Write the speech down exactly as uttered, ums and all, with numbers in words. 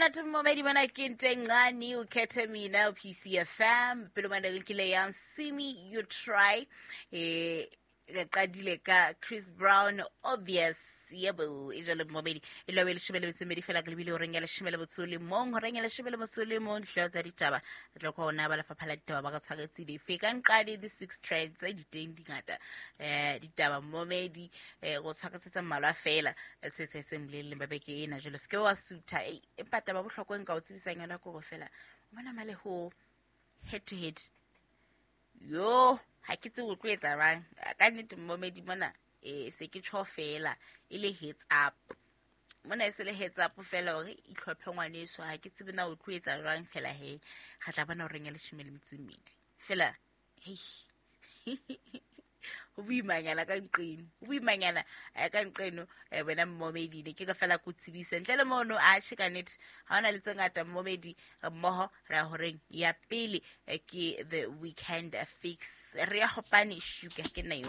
Monate momedi mona ke nto e ncane o khethe mina P C F M pele mane re kile ya Simi You Try, eh re qadile ka Chris Brown, Obvious. Yebo, e jalo momedi, e lobe leshome le metso e mmedi fela ke lebile horeng ya leshome le motso o le mong, horeng ya leshome le motso o le mong dihlooho tsa ditaba re tlo khona ba lefapha la ditaba ba ka tshwaretse dife ka nqane this week's trends tse diteng dingata, eh ditaba momedi, eh go tshwaretsetsa mmalwa fela tse tse seng boleleng ba beke ena. Jalo se ke wa sutha, empa taba bohlokwa nka o tsebisang yona ke hore fela o bona male ho head to head yo, ha ke tsebe o tlo etsa jwang ka nnete momedi mona. um se ke tjho fela e le heads up mona, e se le heads up fela hore itlhophe ngwaneso. Ha ke tsebe na o tlo etsa jwang fela, he re tla bona horeng ya leshome le metso e mmedi fela. Hei, ho boimanyana ka nqeno, ho boimanyana eh, ka nqeno, eh, wena mmomedi. Ne ke ka fela ko tsebise ntle le mono. Atjhe, ka nnete ha hona le tse ngata mmomedi, mmoho re ya horeng ya pele, eh, ke The Weekend Fix. Re ya gopane shuka ke nna yo.